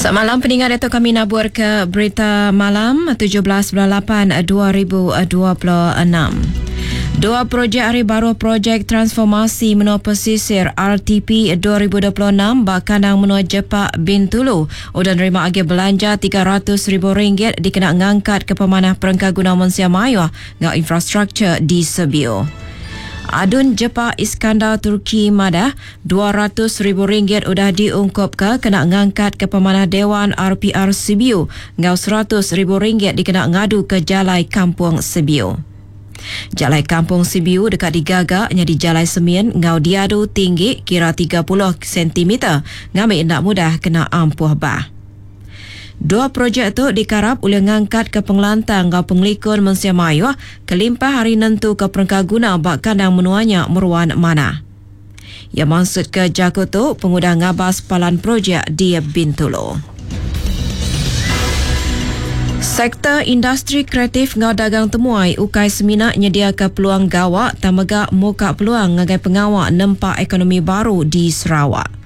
Semalam peninga diatu kami nabur ke berita malam 17 bulan 8 2026. Dua projek ari baruh Projek Transformasi Menua Pesisir RTP 2026 ba kandang menua Jepak Bintulu udah nerima agih belanja 300 ribu ringgit dikena ngangkatka pemanah perengka guna mensia mayuh enggau infrastruktur di Sebiu. Adun Jepak Iskandar Turki madah, 200 ribu ringgit udah diungkupka kena ngangkatka pemanah Dewan RPR Sibiu enggau 100 ribu ringgit dikena ngaduka Jalai Kampung Sibiu. Jalai Kampung Sibiu deka digaga nyadi jalai semin enggau diadu tinggi kira 30 sentimeter ngambi enda mudah kena ampuh bah. Dua projek tu dikarap ulih ngangkatka pengelantang enggau pengelikun mensia mayuh kelimpah ari nentuka perengka guna ba kandang menua nya meruan manah. Iya mansutka jaku tu pengudah ngabas palan projek di Bintulu. Sektor industri kreatif enggau dagang temuai ukai semina nyediaka peluang gawa tang mega muka peluang ngagai pengawa nempa ekonomi baru di Sarawak.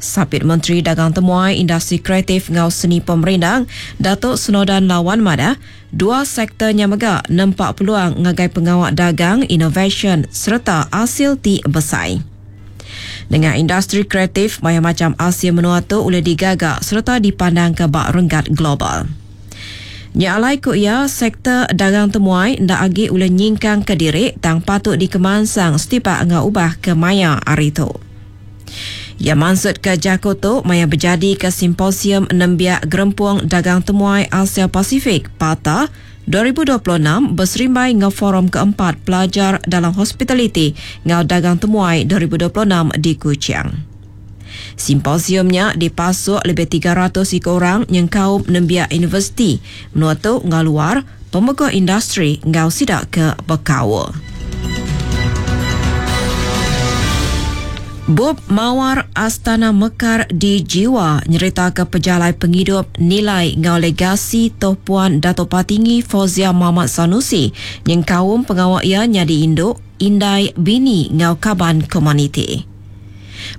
Sapit Menteri Dagang Temuai, Industri Kreatif enggau Seni Pemerindang, Datuk Snowdan Lawan madah, dua sektor nya mega nempa peluang ngagai pengawa dagang, inovasyen sereta asil ti besai. Nengah industri kreatif, mayuh macham asil menua tu ulih digaga sereta dipandangka ba renggat global. Nya alai ku iya, sektor dagang temuai enda agi ulih nyingkangka diri tang patut dikemansang setipak enggau ubah ke maya hari tu. Iya mansutka jaku tu maya bejadika Simposium Nembiak Gerempung Dagang Temuai Asia Pasifik, PATA, 2026 beserimbai enggau Forum Keempat Pelajar Dalam Hospitaliti enggau Dagang Temuai 2026 di Kuching. Simposium nya dipasuk lebih 300 iku orang nyengkaum nembiak universiti menua tu enggau luar, pemeguh industri enggau sida ke bekaul. Bup Mawar Astana Mekar di Jiwa nyeritaka pejalai pengidup, nilai enggau legasi Toh Puan Datuk Patinggi Fauziah Mohd Sanusi nyengkaum pengawa iya nyadi indu, indai, bini enggau kaban komuniti.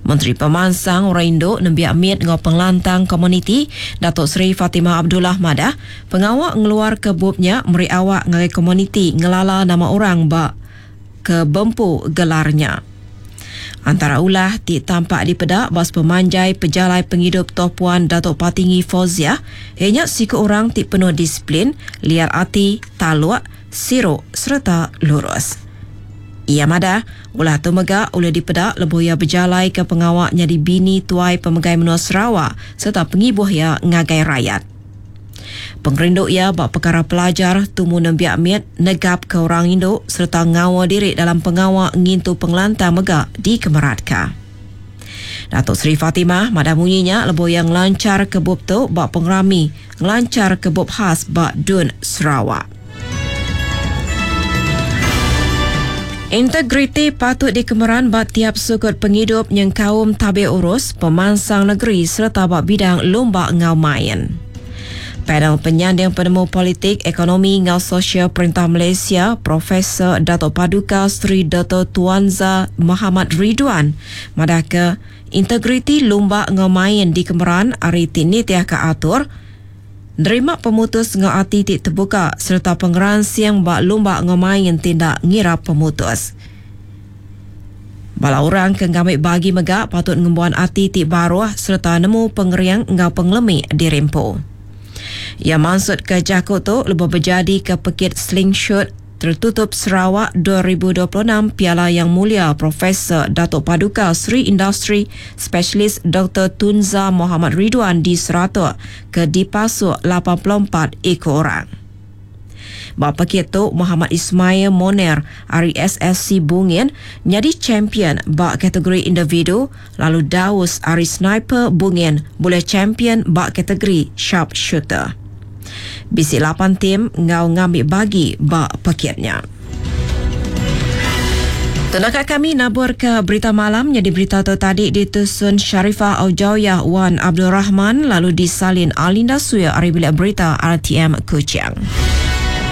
Menteri Pemansang Orang Indu, Nembiak Mit enggau Pengelantang Komuniti, Datuk Seri Fatimah Abdullah madah, pengawa ngeluarka bup nya meri awak ngagai komuniti ngelala nama orang ba ke bempu gelar nya. Antara ulah ti tampak dipeda ba sepemanjai pejalai pengidup Toh Puan Datuk Patinggi Fauziah iya nya siku orang ti penuh disiplin, liat ati, taluk, siru sereta lurus. Iya madah, ulah tu mega ulih dipeda lebuh iya bejalaika pengawa nyadi bini tuai pemegai menua Sarawak sereta pengibuh iya ngagai rayat. Pengerindu iya ba pekara pelajar tumu nembiak mit, negapka orang indu sereta ngaul diri dalam pengawa ngintu pengelantang mega dikemeratka. Datuk Seri Fatimah madah munyi nya lebuh iya ngelancharka bup tu ba pengerami ngelancharka bup khas ba Dun Sarawak. Integriti patut dikemeran ba tiap sukut pengidup nyengkaum tabir urus, pemansang negeri sereta ba bidang lumba enggau main. Panel Penyanding Penemu Politik, Ekonomi enggau Sosial Perintah Malaysia, Profesor Datuk Paduka Seri Doktor Tuanza Mohamad Ridwan madahka integriti lumba enggau main dikemeran ari ti nitihka atur, nerima pemutus enggau ati ti tebuka sereta pengeransing ba lumba enggau main ti enda ngira pemutus. Bala orang ke ngambi bagi mega patut ngembuan ati ti baruh sereta nemu pengering enggau pengelemi diri empu. Iya mansutka jaku tu lebuh bejadika Pekit Slingshot Tertutup Sarawak 2026 Piala Yang Mulia Profesor Datuk Paduka Seri Industri Specialist Doktor Tunza Mohamad Ridwan di Saratok ke dipasuk 84 iku orang. Ba pekit tu, Muhammad Ismail Moner ari SSC Bungin nyadi champion ba kategori individu lalu Daus ari Sniper Bungin bulih champion ba kategori sharpshooter. Bisi lapan tim enggau ngambi bagi ba pekit nya. Tu naka kami naburka berita malam nyadi berita tu tadi ditusun Sharifah Aujawiah Wan Abdul Rahman lalu disalin Alinda Suya ari Bilik Berita RTM Kuching.